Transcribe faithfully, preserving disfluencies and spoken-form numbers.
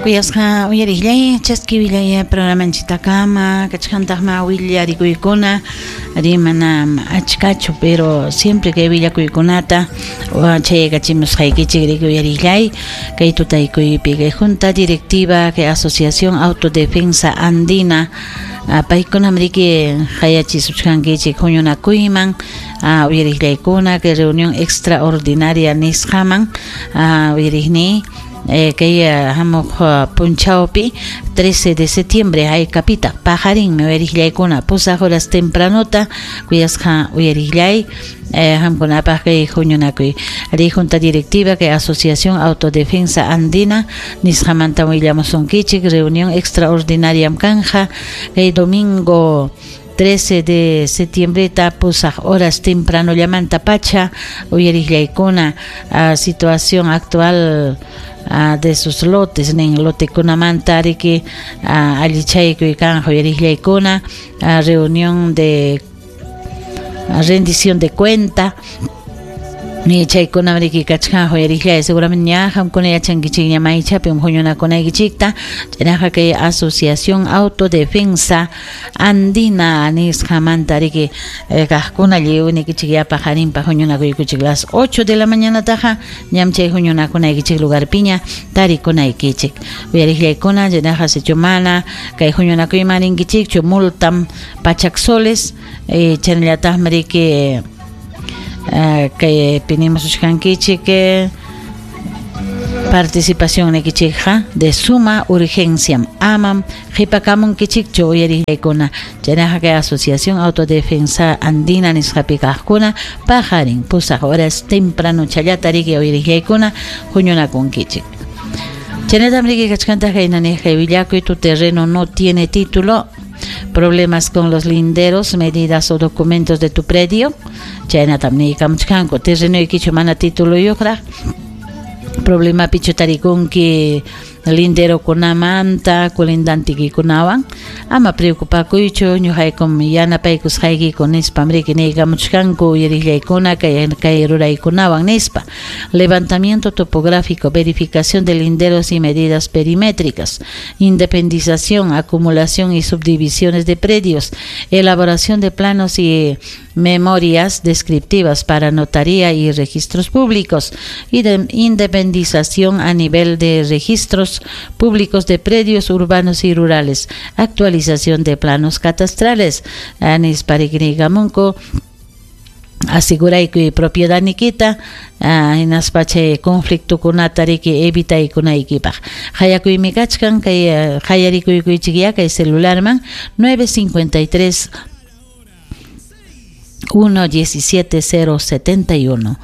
Kuyasqa uyariqllay chaski willay programanchitakama kachkantaqma willarikuykuna rimana achkachu pero siempre kay willakuykunata chaykachimusqaykichik riki uyariqllay kay tutaykuypi kay junta directiva kay asociación autodefensa andina paykunam riki hayachisuchkankichik huñunakuyman uyariqllaykuna kay reunión extraordinaria nisqaman uyariqni Eh, kay hamuq punchawpi trece de septiembre haykapita paqarinmi uyariqllaykuna pusaq horas tempranota kuyasqa uyariqllay eh, hamkunapaq kay huñunakuy ari junta directiva kay asociación autodefensa andina nisqamanta willamusunkichik reunión extraordinaria kanja kay domingo trece de septiembre pusaq horas temprano llamanta pacha uyariqllaykuna situación actual Uh, de sus lotes nin lotekunamanta riki uh, allichaykuy kanja uyariqllaykuna uh, reunión de uh, rendición de cuenta ni chaykuna riki kachkan uyariqllay seguramente ña qamkuna yachankichikña maychapim huñunakunaykichikta chaynaqa kay asociación autodefensa andina nisqamanta riki eh, kaqkuna lliwnikichik yapa qarinpa huñunakuykuchik las ocho de la mañanataqa ñam chay huñunakunaykichik lugarpiña tarikunaykichik uyariqllaykuna chaynaqa sichu mana kay huñunakuyman rinkichikchu multam pachak soles eh, chaynallataqmi riki Uh, kay pinimusuchkankichik participación nikichikqa de suma urgencia amam qhipakamunkichikchu uyariqllaykuna chaynaqa kay asociación autodefensa andina nisqapi kaqkuna paqarin pusaq horas temprano challata riki uyariqllaykuna huñunakunkichik chaynatam riki kachkantaq kaynaniq kay willakuy tu terreno no tiene título problemas con los linderos, medidas o documentos de tu predio chaynatam niykamuchkanku terrenoykichu mana tituluyuqraq problema pichu tarikunki linderokunamanta colindantikikunawan ama preocupakuychu ñuqaykum yanapaykusqaykiku nispam riki niykamuchkanku uyariqllaykuna kay kay ruraykunawan nispa levantamiento topográfico, verificación de linderos y medidas perimétricas, independización, acumulación y subdivisiones de predios, elaboración de planos y memorias descriptivas para notaría y registros públicos y de independización a nivel de registros públicos de predios urbanos y rurales, actualización de planos catastrales, anis pariknigamunku aseguraykuy propiedad nikita hinaspa chay conflictokunata riki evitaykunaykipaq hayakuymi kachkan kay hayarikuykichik kay celularman nueve cincuenta y tres uno diecisiete cero setenta y uno.